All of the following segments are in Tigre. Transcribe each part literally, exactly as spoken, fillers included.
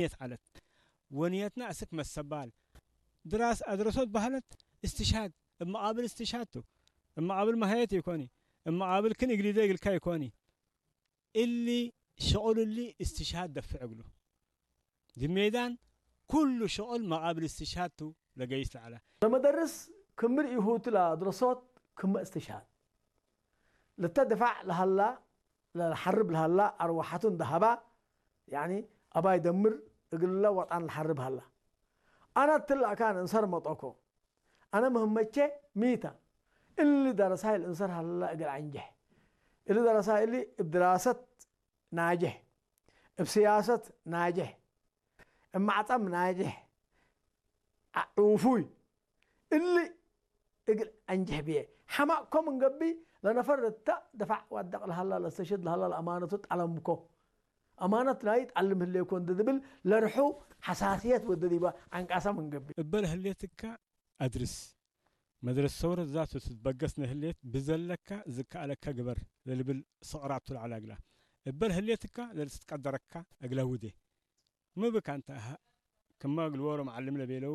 ንየት ዐለት። ወንየትና አስክ መሰባል ድራስ አድረሶት በህለት እስትሽሃድ እብ መቃብል እስትሽሃድ ቱ። እብ መቃብል መሀየት ኢኮኒ። እብ መቃብል ክን እግሊደ እግልካ ኢኮኒ። እሊ ሽቁል እሊ እስትሽሃድ ደፍዕ እግሉ። ዲብ ሜዳን ኩሉ ሽቁል መቃብል እስትሽሃድ ቱ ለገይስ ለዐለ። ለመደርስ ክምር ኢሁቱ ለአድረሶት ክመ እስትሽሃድ። ለተ ድፋዕ ለሀላ፣ ለሐርብ ለሀላ አርወሐቱ እንደ ሀባ፣ ያኒ አባይ ደምር እግለ ወጣን ለሐርብ ሀላ። አነ እትለ አካን እንሰር መጦኮ። አነ ምህመቼ ሚተ። እሊ ደረሳይ ለእንሰር ሀላ እግል አንጀሕ። እሊ ደረሳይ እሊ እብ ድራሰት ናጅሕ፣ እብ ስያሰት ናጅሕ፣ እብ ማዕጠም ናጅሕ፣ ዑፉይ እሊ እግል አንጅሕ ብዬ። ሐማቅኮ ምን ገብእ ለነፈር እተ ደፋዕ ዋደቅ ለሀላ ለእስተሽህድ ለሀላ ለአማነቱ ጠለምኮ። አማነት ናይ ጠልም ህሌኮ እንዴ ልብል ለርሑ ሐሳስየት ወደ ዲበ ዐንቃሰ ምን ገብእ። እበ ለህሌትከ አድርስ። መድረስ ሰውረት ዛቱ ትትበገስ ነህሌት ብዘለካ ዝከአለካ ግበር ለልብል ሰቅራቱ ለዐለ እግላ። እበ ለህሌትካ ለልትትቀደረካ እግለ ውዴ። ሚ ብካ እንተ? ክመ እግል ዎሮ መዓልም ለቤለው፣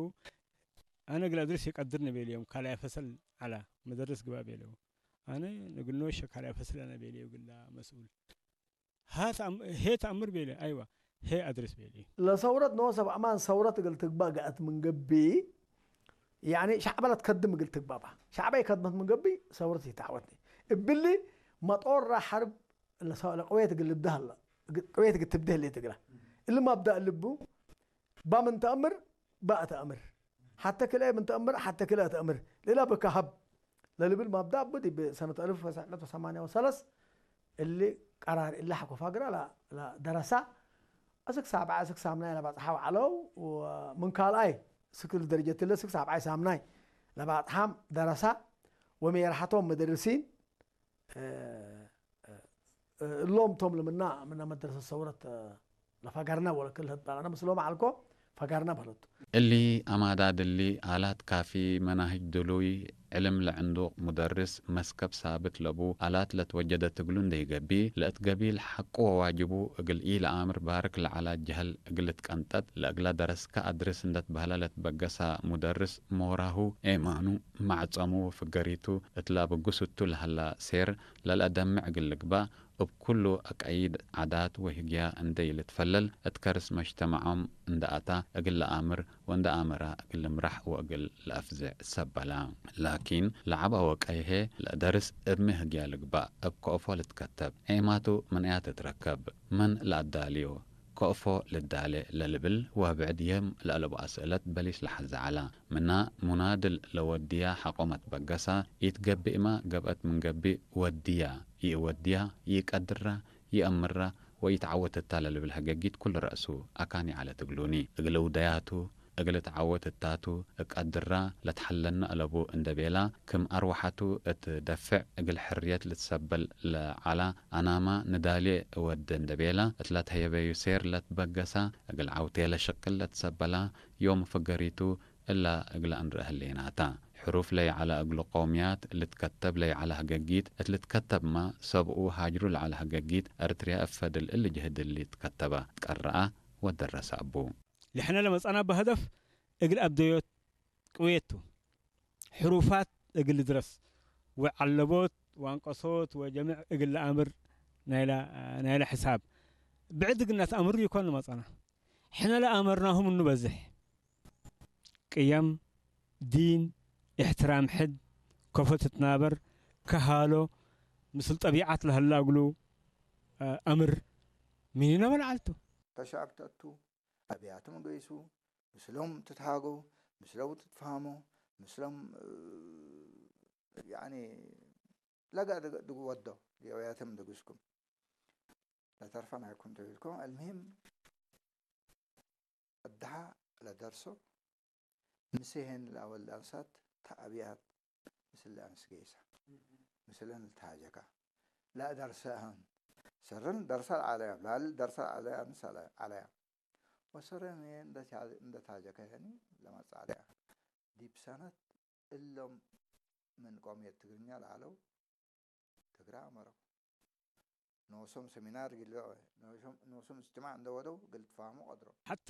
አነ እግል አድርስ ይቀድርኒ ቤለዮም፣ ካልኣይ ፈሰል ዐላ፣ መደርስ ግበእ ቤለው። አነ እግል ኖሸ ካልኣይ ፈስል አነ ቤለዩ እግላ መስኡል። ሀ ተአም-፣ ሄ ተአምር ቤለ፣ አይወ፣ ሄ አድርስ ቤለዩ። ለሰውረት ኖሰ በአማን ሰውረት እግል ትግባእ ገአት ምን ገብእ፣ ያኒ ሸዕበ ለትከድም እግል ትግባእ በ። ሸዕበ ኢከድመት ምን ገብእ ሰውረት ኢተዐወትኒ። እብሊ መጦራ ሐርብ ለሰ-፣ ለቅዌት እግል ልብደ ሀለ፣ እግ-፣ ቅዌት እግል ትብደ ህሌት እግላ። እሊ መብዳእ ልቡ፣ ባ ምን ተአምር፣ ባ ተአምር። ሐተ ክልኤ ምን ተአምር፣ ሐተ ክልኤ ተአምር። ሌላ ብከ ሀብ ለልብል መብዳእ ቡ ዲብ ሰነት አልፍ ወትስዕ መእት ወሰማንያ ወሰለስ እሊ ቀራር እሊ ሐቆ ፋግራ ለ-፣ ለደረሳ። እስክ ሳብዐ፣ እስክ ሳምናይ ለባጽሐው ዐለው። ወምን ካልኣይ እስክ ደረጀትለ እስክ ሳብዓይ ሳምናይ ለባጽሓም ደረሳ። ወሜርሐቶም መደርሲን እ፣ እ፣ እሎም ቶም ለምና ምነ መድረሰት ሰውረት፣ እ፣ ለፈገርነ ወለክል ህበ አነ ምስሎም ዐልኮ ፈገርነ በህለቱ። እሊ አማዳድ እሊ፣ አላት ካፊ፣ መናህጅ ድሉይ፣ ዕልም ለዕንዱቅ፣ ሙደርስ፣ መስከብ ሳብት ለቡ፣ አላት ለትወጀደት እግሉ እንዴ ኢገብእ፣ ለእት ገቢል ሐቁ ወዋጅቡ እግል ኢለአምር ባርክ ለዐላ ጀህል እግል ልትቀንጠጥ፣ ለእግላ ደረስከ አድርስ እንዴ ትበህለ ለትበገሳ ሙደርስ፣ ሞራሁ፣ ኤማኑ፣ ማዕጸሙ ወፍገሪቱ እት ለአብግስ እቱ ለሀላ ሴር፣ ለልአደምዕ እግል ልግባእ፣ እብ ኩሉ አቀይድ ዓዳት ወህግያ እንዴ ኢልትፈለል፣ እት ከርስ መጅተመዖም እንዴ አታ እግል ለአምር ወእንዴ አመራ እግል ልምራሕ ወእግል ለአፍዝዕ ሰበላ። ላኪን፣ ለዐበ ወቀይሄ ለደርስ እብ ሚ ህግያ ልግባእ፣ እብ ከእፎ ልትከተብ፣ ዔማቱ ምን አያ ትትረከብ፣ መን ለአዳልዮ፣ ከእፎ ልዳሌ ለልብል ወብዕድ የም ለአለቡ አስእለት በሊስ ለሐዘ ዐላ። ምና ሙናድል ለወድያ ሐቆ መትበገሳ፣ ኢትገብእመ ገብአት ምን ገብእ ወድያ፣ ይእወድያ፣ ይቀድራ፣ ይአምራ ወኢትዐወት እታ ለልብል ሀገጊት ኩሉ ረእሱ አካን ይዐለት እግሉኒ። እግል እውደያቱ፣ እግል ትዐወት እታቱ እቀድራ ለትሐለነ አለቡ እንዴ ቤላ፣ ክም አርወሐቱ እት ደፍዕ እግል ሕርየት ልትሰበል ለዐላ አናማ ንዳሌ እወዴ እንዴ ቤላ፣ እት ለትሀየበዩ ሴር ለትበገሳ፣ እግል ዐውቴ ለሽቅል ለትሰበላ፣ ዮም ፍገሪቱ እላ እግለ እንርአ ህሌናታ። ሕሩፍ ለይዐለ እግሉ ቀውምያት ልትከተብ ለይዐለ ህገጊት እት ልትከተብመ፣ ሰብኡ ሃጅሩ ለዐለ ህገጊት፣ ኤርትርያ እብ ፈድል እሊ ጅህድ እሊ ትከተበ፣ ትቀረአ ወደረሰ እቡ። ለሕነ ለመጽአናበ ሀደፍ እግል አብደዮት ቅዌት ቱ። ሕሩፋት እግል ልድረስ ወዐለቦት ወአንቀሶት ወጀምዕ እግል ለአምር ናይለ፣ ናይለ ሕሳብ ብዕድ እግል ነትአምሩ ኢኮን ለመጽአና። ሕነ ለአመርናሁ ምኑ በዝሕ። ቅየም፣ ዲን፣ እሕትራም ሕድ፣ ከፎ ትትናበር፣ ከሃሎ፣ ምስል ጠቢዐት ለሀላ እግሉ አምር ምኒነ መልዓል ቱ። ከሸዐብ ተአቱ፣ አብያቶም ገይሱ፣ ምስሎም ትትሃገው፣ ምስሎም ትትፋህሞ፣ ምስሎም፣ እ፣ ያኒ ለገ-፣ ድግ-፣ ድግ ወዶ፣ የውያቶም ድግስኩም ለተርፈ ናይኩም ተቤልኩም። አልሙሂም፣ እድሃ ለደርሶ፣ ምሴሄን ለአወል ለአንሳት ተአብያት ምስል ለአንስ ገይሰ፣ ምስለን ልትሃጀካ ለአደርሰ አሁን ሰረን ደርሰ ለዐለያ፣ ላል ደርሰ ለዐለያ፣ አንስ ዐለያ። ወሰረን እንደ ታ-፣ እንደ ታጀከ ያኒ ለመጽአ ዐለያ። ዲብ ሰነት እሎም ምን ቆምየት ትግርኛ ለዐለው ትግረ አመረው። ኖሶም ሰሚናር እግል ልብዕወ፣ ኖሶም፣ ኖሶም እጅትማዕ እንደ ወደው እግል ልትፋህሞ ቀድሮ። ሐተ